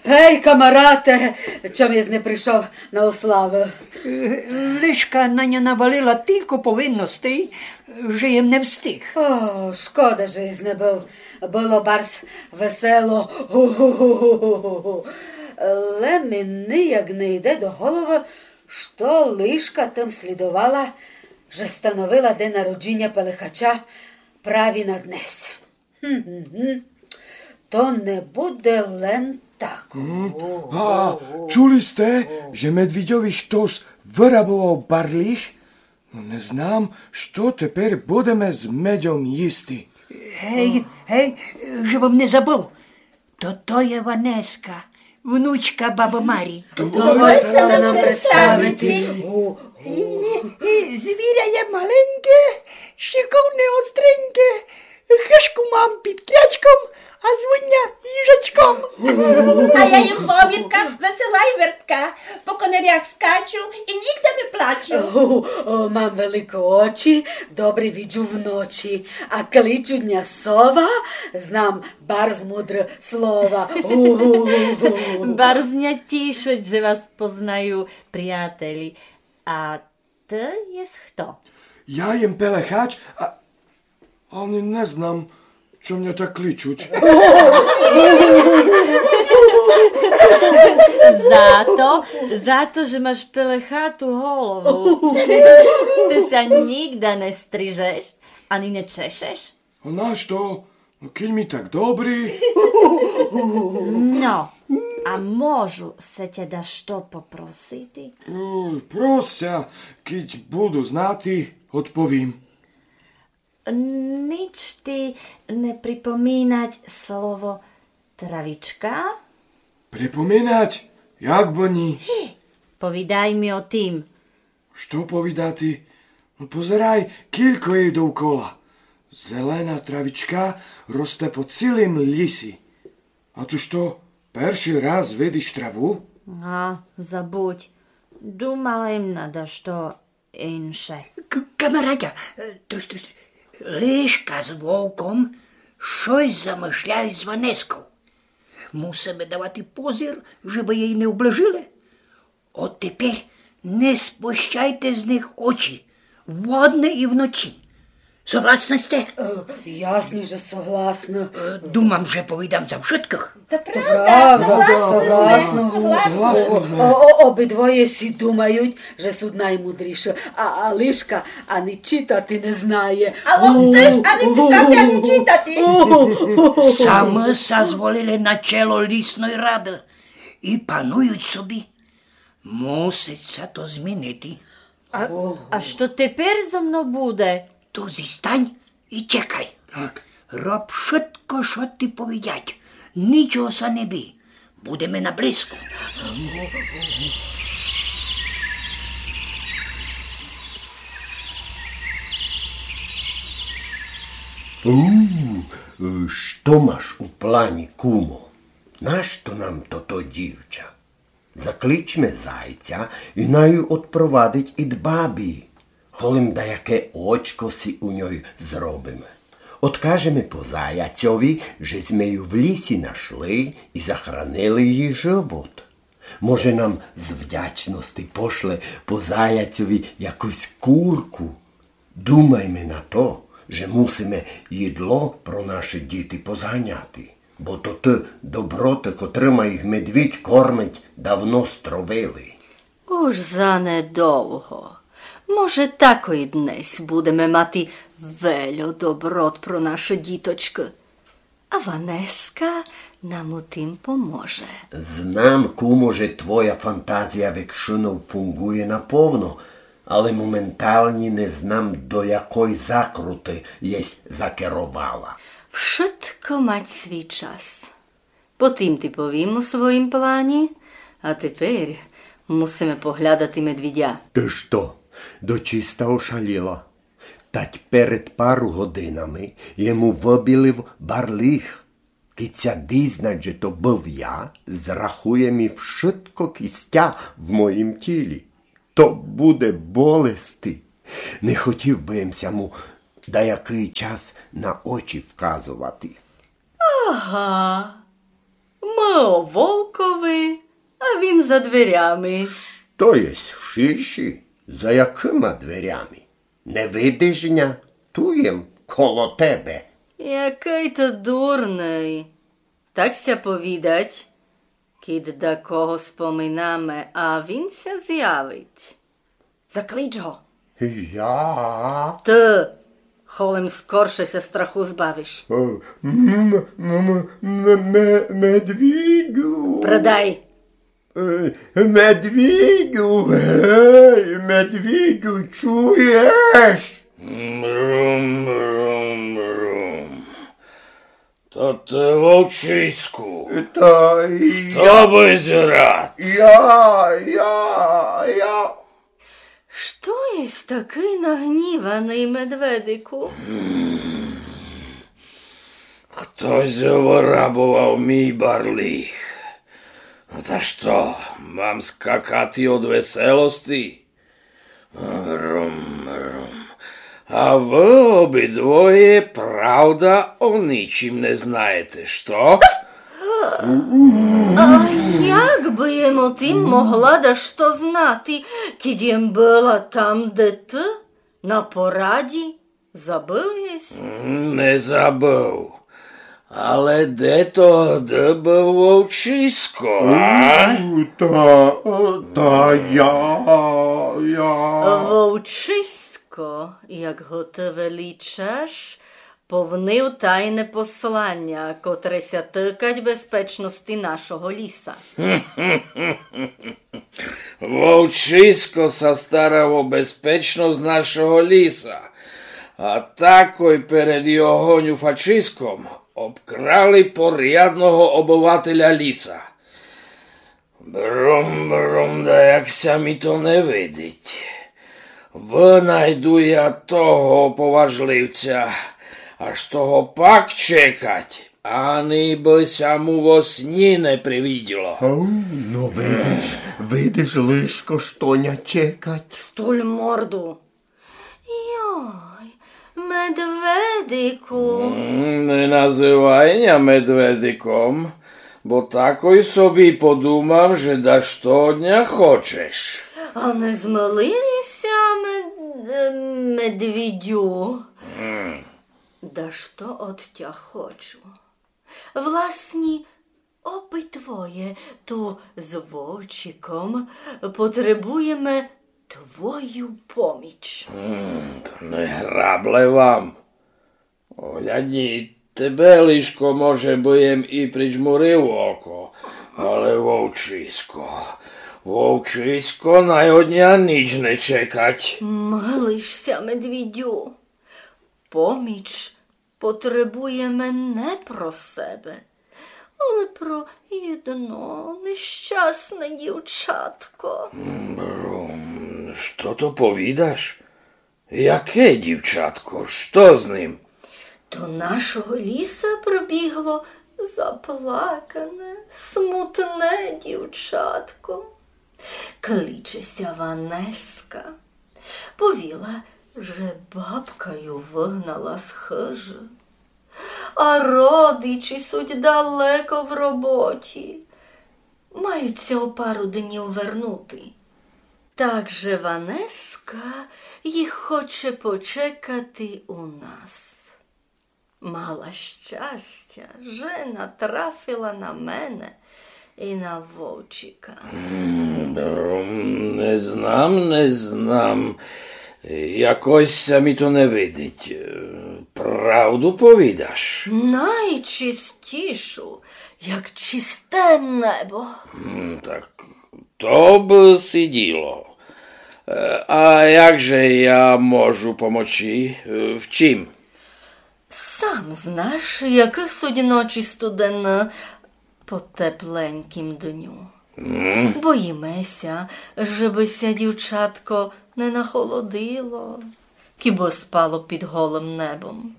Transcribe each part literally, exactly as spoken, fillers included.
Гей, камарате, чом єсь не пришов на ославу? Е, лишка на ня навалила тілько повинностей, же єм не встиг. О, шкода, же єсь не быв. Было барз весело. Гу-гу-гу. Лем ми нияк не йде до головы, што лишка тым слідовала, же становила ден народжиня Пелехача прави на днес. Гм-гм-гм. То не буде лем так. М. А, чули сте, же медвідьови хтос вырабовав барліг? Но, не знам, што тепер будеме з медьом їсти. Гей, гей, же вам не забыв. То, то є Ванеска, внучка бабы Марі. Доволь ся нам представити. І, і звіря є маленьке, шиковне, остреньке. Хыжку мам під крячком, а звуть ня їжачком. А я їм вовірка, весела й вертка, по конирях скачу і нігде не плачу. О, о, мам великі очі, добре виджу вночі, а кличуть ня сова, знам барз мудрі слова. У-у-у-у. Барз ня тішить, же вас познаю, приятелі. А ты єсь хто? Я єм Пелехач, а ани не знам, чом ня так кличуть. Зато, зато, же маш пелехату голову. Ты ся нігде не стрижеш, ани не чешеш. А нашто? Но, кідь ми так добрі. Но, а можу ся тя дашто попросити? О, прос ся, кідь буду знати, одповім. Нич ти не припоминать слово травичка? Припоминать? Як бы ні? Повідай ми о тім. Што повідати? Но, позирай, кілько єй довкола. Зелена травичка росте по цілім лісі. А ты што, першый раз видиш траву? А, забудь. Думала єм на дашто інше. К-, камаратя, е, трус, трус, трус. Лишка з вовком штось замышляють з Ванесков. Мусиме давати позир, жебы єй не оближили. От тепер не спущайте з них очі, во дни і вночі. Согласны сте? Е, ясно, же согласна. Е, думам, же повідам за вшыткых. То правда, согласна, согласна. Согласна сме. О, о, обидвоє сі думають, же суть наймудріші, а, а лишка ани читати не знає. А он тыж ани писати, ани читати. Самы ся зволили на чело лісной рады і панують собі. Мусить ся то змінити. А, а што тепер зо мно буде? Ту зістань і чекай. Так. Роб вшытко, што ти повідять. Нічого ся не бій. Будеме наблизку. У, е, што маш у плані, кумо? Нашто нам тото дівча? Закличме зайця і най ю одпровадить ид бабі. Холем даяке очко сі у ньой зробиме. Одкажеме по заяцьови, же зме ю в лісі нашли і захранили їй живот. Може, нам з вдячности пошле по заяцьови якусь курку. Думайме на то, же мусиме їдло про наші діти позганяти, бо то тоты доброты, котрыма їх медвідь кормить, давно стравили. Уж занедовго. Може, такой днесь будеме мати вельо доброт про наші діточкы. А Ванеска нам у тім поможе. Знам, кумо, же твоя фантазія векшынов фунґує наповно, але моменталні не знам, до якой закруты єсь закеровала. Вшытко мать свій час. Потім ти повім у своїм плані, а тепер мусиме поглядати медвідя. Ты што, дочиста ошаліла? Тать перед пару годинами єм му выбілив барліг. Кідь ся дізнать, же то быв я, зрахує мі вшытко кістя в моїм тілі. То буде болести. Не хотів бы єм ся му даякый час на очі вказовати. Ага. Мы о вовкови, а він за дверями. То єсть в шиши? За якыма дверями? Не видиш ня? Ту єм коло тебе. Якый ты дурный. Так ся повідать, кідь дакого споминаме, а він ся зявить. Заклич го. Я? Ты, холем скорше ся страху збавиш. Е, м-, м-, м-, м-, м-, медвідю. Придай. Е, медвідю, гей, медвідю, чуєш? Брум, брум, брум. То ты, вовчиську? Та й... Што бысь рад? Я, я, я. Што єсь такый нагніваный, медведику? Хтось вырабовав мій барліг. Та што, мам скакати од веселости? Рум, рум. А вы обидвоє, правда, о ничим не знаєте, што? А як бы єм о тым могла дашто знати, кідь єм была там, де ты, на пораді? Забыв єсь? М, не забыв. Але де тогды быв вовчисько, а? У, та, та я, я. Вовчисько, як го ты величаш, повнив тайне посланя, котре ся тыкать безпечности нашого ліса. Вовчисько ся старав о безпечность нашого ліса, а такой перед його нюфачиськом обкрали порядного обывателя ліса. Брум, брум, да як ся ми то не видить. Вынайду я того поважливця, аж того пак чекать, ани бы ся му во сні не привиділо. Ау, ну видиш, видиш, лишко, што ня чекать. Стуль морду. Йой, медведику. М, не называй ня медведиком, бо такой собі подумам, же дашто од ня хочеш. А не змылив єся, мед-, е, медвідю? М. Дашто од тя хочу. Власні, обидвоє ту з вовчиком потребуєме твою поміч. М, то не грабле вам. Огляднї, тебе лишко, може бы єм і прижмурив око, але вовчисько, вовчисько най од ня нич не чекать. Милиш ся, медвідю. Поміч потребуєме не про себе, але про єдно нещасне дівчатко. Брум, што то повідаш? Яке дівчатко? Што з ним? До нашого ліса прибігло заплакане, смутне дівчатко. Кличе ся Ванеска. Повіла, же бабка ю выгнала з хыжы. А родичі суть далеко в роботі. Мають ся о пару днів вернути. Так же Ванеска їх хоче почекати у нас. Мала щастя, же натрафила на мене і на вовчика. М, не знам, не знам. Якось ся ми то не видить. Е, правду повідаш? Найчистішу, як чисте небо. М, так то бы сиділо. Е, а як же я можу помочи? Е, в чим? Сам знаш, якы суть ночі студены по тепленькім дню. М. Боїме ся, жебы ся дівчатко не нахолодило, кібы спало під голым небом.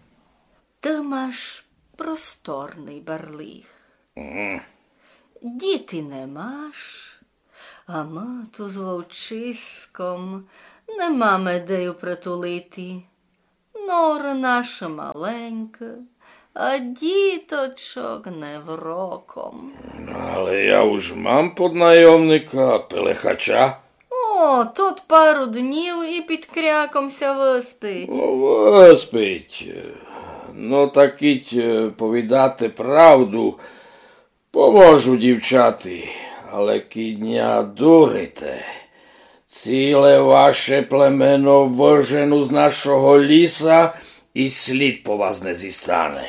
Ты маш просторный барліг. М. Діти не маш, а мы ту з вовчиськом не маме де ю притулити. Норы нашы маленькы, А діточок невроком. Але я уж мам поднайомника, Пелехача. О, тот пару днів і під кряком ся выспить. О, выспить. Но так кідь, е, повідати правду, поможу дівчати, але кідь ня дурите, ціле ваше племено выжену з нашого ліса і слід по вас не зістане.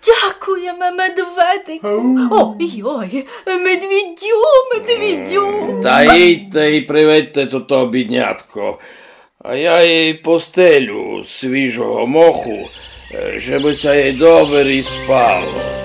Дякуєме, медведику. Ой, ой, медвідю, медвідю. Та йдьте і приведьте тото біднятко. А я їй постелю свіжого моху, е, жебы ся їй добрі спало.